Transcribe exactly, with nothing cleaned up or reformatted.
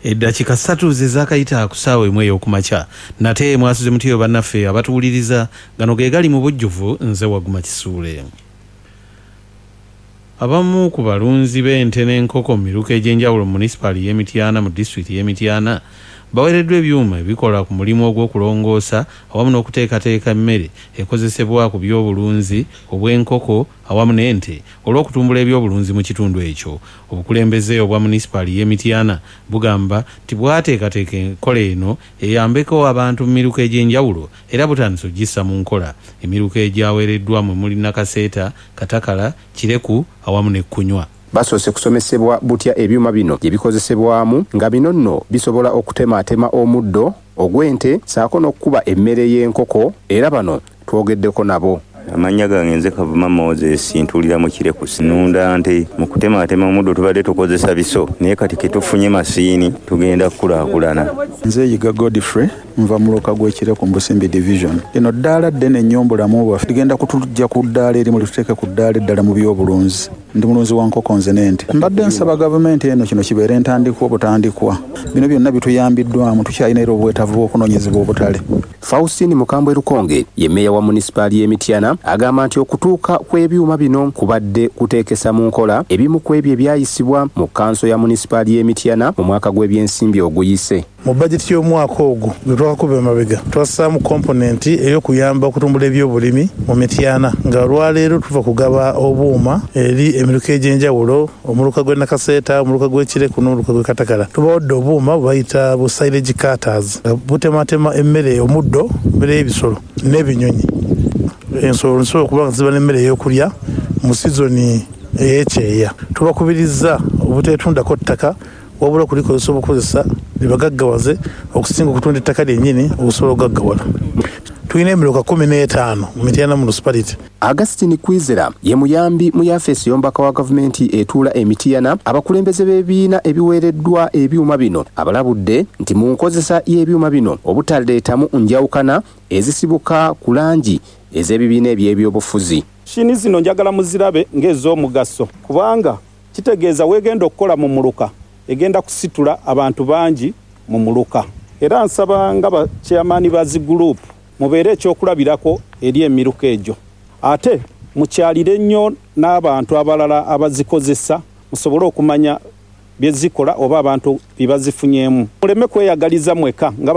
Eddakiika ssatu ze zaakayita ku ssaawa emu ey'okumakya. Nate mwasuze mutyo bannaffe abatuwuliriza? Gano ge gali mu bujjuvu. Nze Waguma Kisuule. Abamu ku balunzi b'ente n'enkoko mu miruka egy'enjawulo mu munisipaali y'e Mityana mu disitulikiti y'e Mityana baweereddwa ebyuma ebikola ku mulimu ogw'okulongoosa awamu n'okuteekateeka emmere ekozesebwa ku byobulunzi obw'enkoko awamu n'ente, olw'okutumbula ebyobulunzi mu kitundu ekyo. Obukulembeze obwa munisipaali y'e Mityana bugamba nti bwateekateeka enkola eno eyambeko abantu mu miruka egy'enjawulo, era butandise okugissa mu nkola. Emiruka egyaweereddwa mwe muli Nakaseeta, Katakala, Kireku awamu n'Ekkunywa. Basoose kusomesebwa butya ebyuma bino gye bikozesebwamu, nga bino nno bisobola okutemaatema omuddo ogw'ente ssaako n'okukuba emmere y'enkoko. Era bano twogeddeko nabo. Amannya gange nze Kavuma Moses, ntuulira mu Kireku, nunda nte. Mu kutematema omuddo tubadde tukozesa biso, naye kati ketufunye masiini tugenda kukulaakulana. Nze Yiga Godfrey, nva muluka gw'Ekireku mu Busimbi Division. Lino ddaala ddene nnyo mu bulamu bwaffe, ligenda kutujja ku ddaala erimu lituteeke ku ddaala eddala mu byobulunzi. Ndi mulunzi wa nkoko nze n'ente. Mbadde nsaba gavumenti eno kino kibeere ntandikwa obutandikwa. Bino byonna bituyambiddwamu, tukyalina era obwetaavu bw'okunoonyezebwa obutale. Faustini Mukambwe Lukonge ye mmeeya wa munisipaali y'e Mityana, agamba nti okutuuka kw'ebyuma bino kubadde kuteekesa mu nkola ebimu ku ebyo ebyayisibwa mu kanso ya munisipaali y'e Mityana mu mwaka gw'ebyensimbi oguyise. Mu bajeti y'omwaka ogwo gwe twakakuba emabega, twassaamu component ey'okuyamba okutumbula ebyobulimi mu Mityana, nga olwaleero tuva kugaba obuuma eri emiruka egy'enjawulo: omuluka gw'e Nakaseeta, omuluka gw'Ekireku n'omuluka gw'e Katakala. Tubawadde obuuma bwe bayita bu silage cutters, butematema emmere, omuddo, emmere y'ebisolo n'ebinyonyi. Ensolo nsobola okuba nga ziba n'emmere ey'okulya mu sizoni ey'ekyeya. Tubakubiriza obuteetundako ttaka, wabula okulikozesa obukozesa libagaggawaze okusinga okutunda ettaka lyennyini okusobola okugaggawala. Tulina emiruka kumi n'etaano mu Mityana Municipality. Augustine Kwizera ye muyambi mu yafeesi y'omubaka wa gavumenti etuula e Mityana. Abakulembeze b'ebibiina ebiweereddwa ebyuma bino abalabudde nti mu nkozesa y'ebyuma bino obutaleetamu njawukana ezisibuka ku langi ez'ebibiina eby'ebyobufuzi. Mashini zino njagala muzirabe ng'ez'omugaso, kubanga kitegeeza weegenda okukola mu muluka egenda kusitula abantu bangi mu muluka. Era nsaba nga bakyamaani ba zi group mubeere ekyokulabirako eri emiruka egyo, ate mukyalire nnyo n'abantu abalala abazikozesa, musobole okumanya bye zikola oba abantu bye bazifunyeemu. Muleme kweyagaliza mweka nga